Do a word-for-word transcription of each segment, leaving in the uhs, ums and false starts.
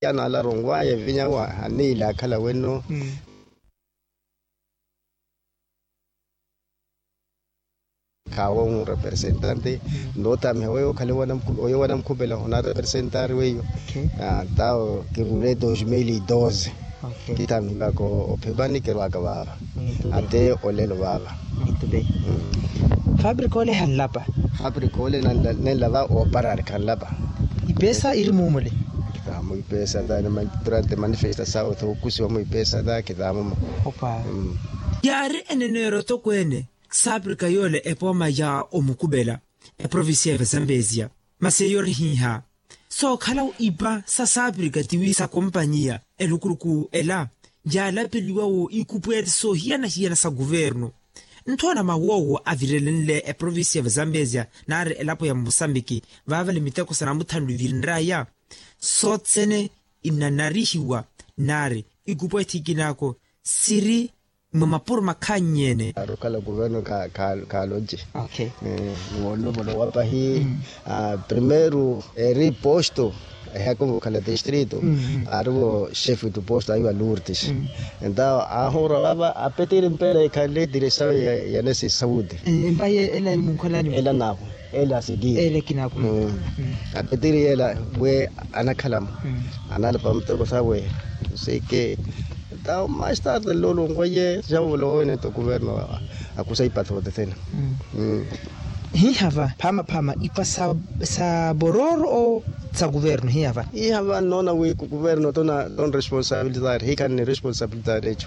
Anaalaronwaya evinya wa aniila akhala weno. Khawo murepresentante. Notamiha weyo okhale oyo wanamukhupela onarepresentari weyo. Tawo kirule dos mil e doze. Kitamihiwaka ophepani kirwaka vava. Ate olelo vava. Fabrika ole hanlapa. Fabrika ole nenlava oparari khanlapa. Ipesa iri mumule. Kithamu ipesa ta durante manifesta sawo thokusiwa mu ipesa ta kithamumo. Yaari eneneero tokweene saapirika yoole epooma ya omukupela eprovincia ya vazambezia. Masi eyo ori hiiha sookhala ipa sa saapirika tiwi sa kompanyiya elukuluku ela yaalapeliwa wo ikupweeti soohiyana-hiyana sa kuvernu. Nthoona mawoowo avirelenle eprovincia ya vazambezia naari elapo ya musambiki vaavale miteko sa namuthanlu ivirinraya sotsene inanarihiwa naari ikupwethi ikinaako siri mwa mapuro makhannyene. Arukhala kuverno khaloce. Wonlopolo wapahi primeiro eri posto ehakuvo khala distrito arivo chefe do posto aiva lurtis. Entawo ahura vava apetiri mpela ikhanle diresawe ya nesi saudi. Empaye ela nimunkholani ela nawo ela asiliye ela ekinaku. Apetiri ela we anakhalamo analapa muteko sawe. Seke tawo mais tarde nlolonkoye javovolowoene to kuverno akusa ipathote thena. Hihava phamaphama ipa sa bororo o sa kuverno hihava. Hihava nnoona wi kuverno tona ton responsabilidade hikhanne responsabilidade eco.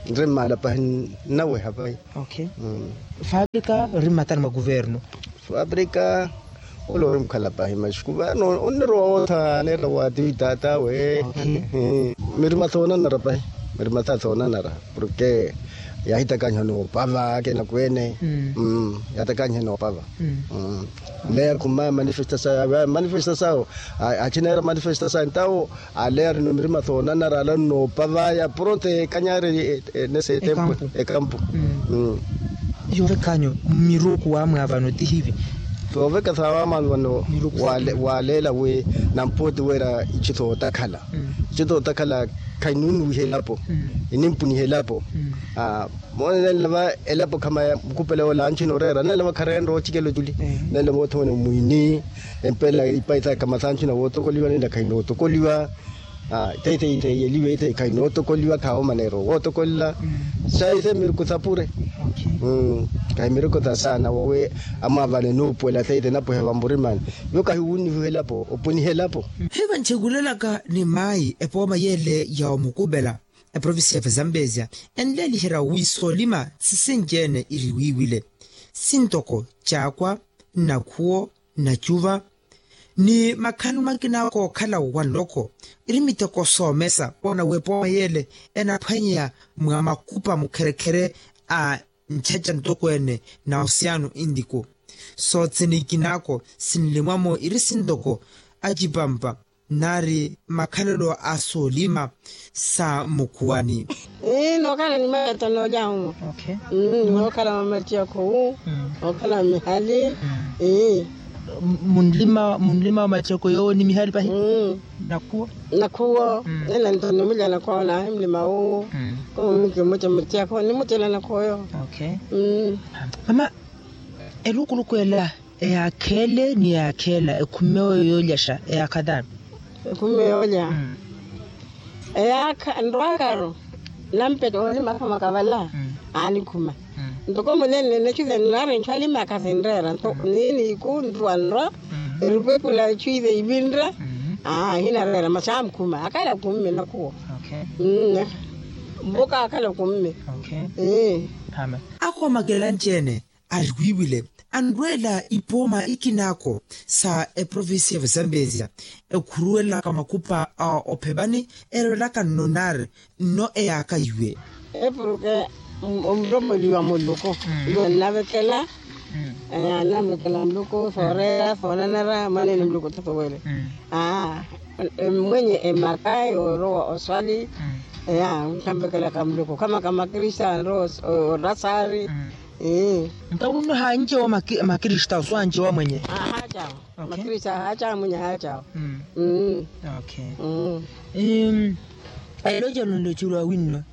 Nri mmaala pahi nnaweha pahi. Fabrika ori mmatani mwa kuverno. Fabrika ole ori mukhala pahi maxi kuverno onnirowa wootha aneera waativi taatawe. Mirima thoonanara pahi. Mirima tha thoonanara porke yaahitakaniha noopava akina kweene. Yaahitakaniha noopava. Leya khuma manifestasawo manifestasawo. Achineera manifestasawo entawo ale arino mirima thoonanara ale arino opavaya pronto ekanyari. Nese etempo ekampu. Yoovekhanyu mmiruku wamwaavano tihivi. Sooveka saawamwaavano waleela wi nampooti weera ichi sootakhala. Ichi sootakhala khayinunuwiha elapo. Inimpuniha elapo. Moone nenlava elapo khamaya mukupela woola anchina oreera nenlava khareenre oochikela ochuli. Nenlava othomene mwini empela ipaisa kamasanchina wootokoliwa nenla khainootokoliwa. Teitheyi teyeliwe itheyi khainootokoliwa khaawo maneero wootokolela. Saise miruku thapure. Kahi miruku thasaana wowe amwaavane nuupuwela teitheyi napwehe vamurimani. Yo kahi wunnihiwe elapo opunihe elapo. Hivanchekulelaka ni maayi epooma yeele ya omukupela eprovincia ya vazambezia enleeliherya wi soolima sisinci-ene iriwiiwile sintoko caakwa nnakhuwo nnacuva ni makhani makina kookhala wa nloko iri miteko soomesa woona wi epooma yeele enaphwanyeya mwa makupa mukherekhere a nchacha ntokweene na osiyaano intiku. Soothene ikinaako sinlimwamo iri sintoko acipampa nari makhalelo a soolima sa mukhuwani. Ii nookhala ni mavetano olyahumo. Nookhala mamattiyakhu nookhala mihali. Ii munlima wa mattiyakhu yoowo ni mihali pahi. Nakhuwo. Nakhuwo ela nto nimulya nakhoona ahi mulima wuwu. Khumu mukimuca mattiyakhu nimucela nakhoyo. Mama elukuluku ela eyaakha ele ni eyaakha ela ekhummewo yoolyaxa eyaakha taani? Ekhummewo yoolya eyaakha nrwaakaro nampetta oonimakhama kavala. Aanikhuma ntoko munenle nechuze nnaari nchwalimaakha sinreera nto niini iku nrwa nrwa erupwepula echuze ivinre. Hinareera masi amukhuma akhala khumme nakhuwo. Mbuka akhala khumme. Akhomakela nci-ene ariwiiwile anrweela ipooma ikinaako sa eprovincia ya vazambezia ekhuruwelelaka makupa a ophepani erwelaka nno naari nno eyaaka iwe. Epuruke omuromoliwa muluku iwe nnavekela. Nnavekela muluku sooreera soonanara mwaneene muluku tho sowele. Mwenye emaka yoorowa oswali. Nnamvekelaka muluku kama kamakrista nrowa orasari. Nto wunno haancewa makristawo so ancewa mwenye. Ahaacawa. Makristawo ahaacawa mwenye ahaacawa. Elocelo nlocelo awinno.